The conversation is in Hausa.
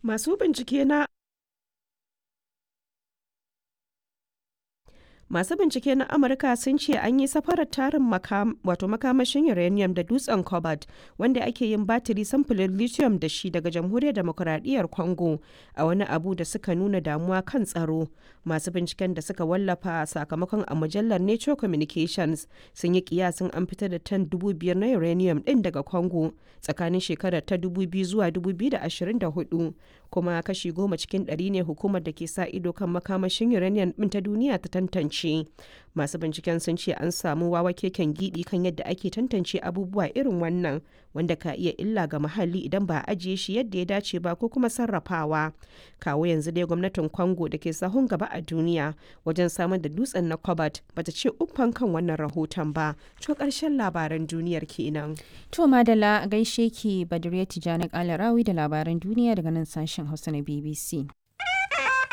Masu bincike na Masu bincike na Amurka sun ce an yi safarar tarin wato makamashin uranium da dutsen cobalt wanda ake yin batiri samfurin lithium da shi daga Jamhuriyar Demokuraɗiyyar Congo a wani abu da suka nuna damuwa kan tsaro. Masu binciken da suka wallafa sakamakon a mujallar Nature Communications sun yi kiyasin an fitar da tan 5,000 na uranium ɗin daga Congo tsakanin shekarar ta 2000 zuwa 2024, kuma kashi 10% ne hukumar da ke sa ido kan makamashin uranium ɗin ta duniya ta tantance. Masu binciken sun ce an samu wawa keken gidi kan yadda ake tantance abubuwa irin wannan wanda ka iya illa ga muhalli idan ba a ajiye shi yadda ya dace ba ko kuma sarrafawa. Kawo yanzu dai gwamnatin Congo da ke sahun gaba a duniya wajen samar da dutsen na cobalt bata ce uffan kan wannan rahoton ba. To, karshen labaran duniyar kenan. To madalla, gaishe ki Badriya Tijani Kalarawi da labaran duniya daga nan sashen Hausa na BBC.